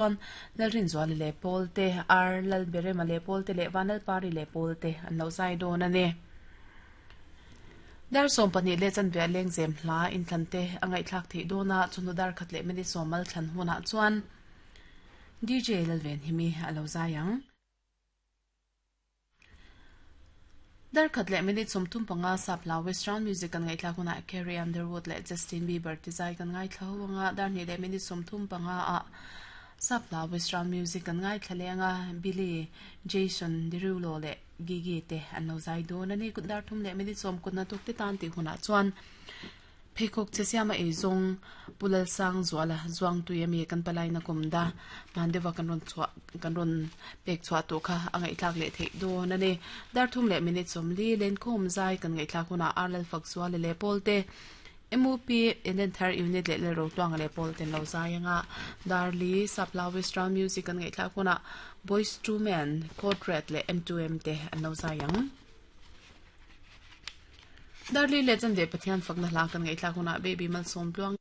Chuan Lalrinzuali leh Paul te, Ar Lalberema leh Paul te leh Vanlalpari leh Paul te an lo zai dawn a ni. Dar 12 leh chanve a lengzem hla inthlan te a ngaihthlak theih dawn a, chawhnu dar khat leh minute sawmal thlan hunah chuan DJ Lalvenhimi a lo zai ang. Darkhat leh minute 35 sap hla Western music kan ngaihthlak hunah Carrie Underwood leh Justin Bieber ti zai kan ngaithla ho anga dar hnih leh minute 35 ah sap hla Western music kan ngaithla leh anga Billie, Jason Derulo leh Gigi te an lo zai dawn a ni. Kut dar thum leh minute sawm kutna tuk te tan tih hunah chuan Pheikhawk che siama ei zawng Pu Lalsang Zuala Zuangtui ami kan palaina kum da hman deuha kan rawn chhuah kan rawn pek chhuah tawh kha a ngaihthlak leh theih dawn a ni. Dar thum leh minute 40 Lenkhawm zai kan ngaihthlak hunah Ar Lalfak Zuala leh Pawlte MUP Eden Thar Unit leh Lalrotuanga leh Pawlte an lo zai anga Darli Sapla Western Music kan ngaihthlak hunah Boyz II Men, Code Red leh M2M te an lo zai ang. Darli leh Chanve Pathian fakna hla kan ngaihthlak hunah Baby Malsawm Tluang.